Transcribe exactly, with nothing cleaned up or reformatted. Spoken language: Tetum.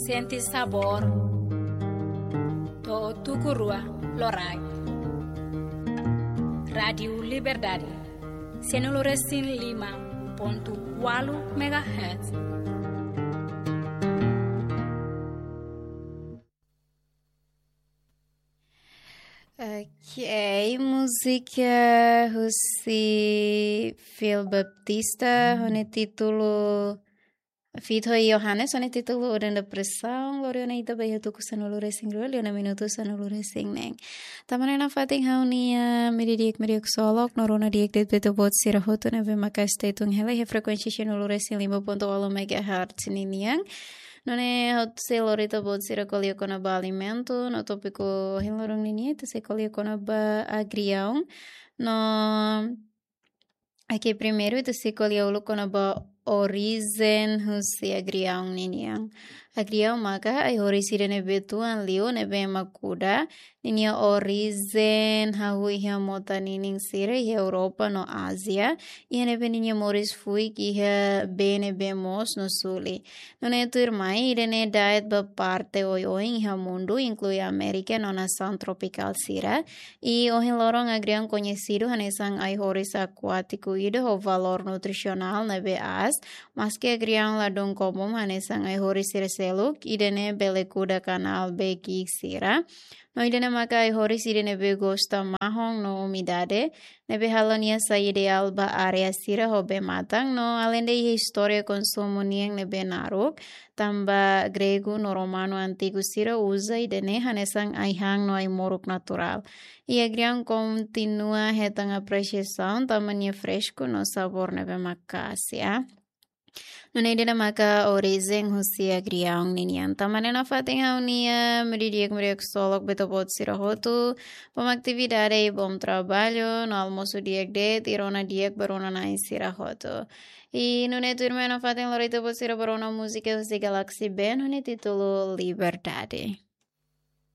Sente sabór. To'o tuku rua loraik. Rádiu Liberdade. Sanulu-resin-lima pontu ualu megahertz. Ok, múzika husi Phil Baptista, ho nia títulu, feat ho Johannes, ho nia títulu Udan Depresaun, lori ona ita ba iha tuku sanulu-resin-rua, liu ona minutu sanulu-resin-neen. Tanba ne'e nafatin ha'u-nia, ah, meiudia di'ak, meiudia ksolok, no rona di'ak de'it ba ita-boot sira hotu ne'ebé maka stay tune hela iha frekuénsia sanulu-resin-lima pontu ualu megahertz ninian. Nune'e ha'u sei lori ita-boot sira ko'alia kona-ba alimentu, no tópiku ohin loron ninian ita sei ko'alia kona-ba agriaun. No, oke, primeiru ita sei ko'alia uluk kona-ba orijen husi agriaun ninian. Agriaun maka ai-horis ida ne'ebé tuan liu ne'ebé ema kuda, ninia orijen hahú iha mota ninin sira iha Europa no Ázia, iha ne'ebé ninia moris fuik iha bee ne'ebé moos no suli. Nune'e tuirmai, ida-ne'e da'et ba parte oioin iha mundu, inklui Amérika no nasaun tropikál sira. I ohin loron agriaun koñesidu hanesan ai-horis akuátiku ida ho valór nutrisionál ne'ebé aas, maski agriaun ladún komún hanesan ai-horis sira seluk, ida-ne'e bele kuda kanál bee ki'ik sira. No ida-ne'e maka ai-horis ida ne'ebé gosta mahon no umidade, ne'ebé halo nia sai ideál ba área sira ho bee-matan, no aleinde iha istória konsumu nian ne'ebé naruk, tanba gregu no romanu antigu sira uza ida-ne'e hanesan ai-han no ai-moruk naturál. I agriaun kontinua hetan apresiasaun tanba nia fresku no sabór ne'ebé maka'as, ya. Nune'e ida-ne'e maka orijen husi agriaun ninian. Tanba ne'e nafatin ha'u-nia, ah, meiudia di'ak, meiudia ksolok ba ita-boot sira hotu, bom atividade i bom traballu, no almosu di'ak de'it, i rona di'ak ba rona-na'in sira hotu. I nune'e tuirmai nafatin lori ita-boot sira ba rona múzika husi Galaxy Band, ho nia títulu Liberdade.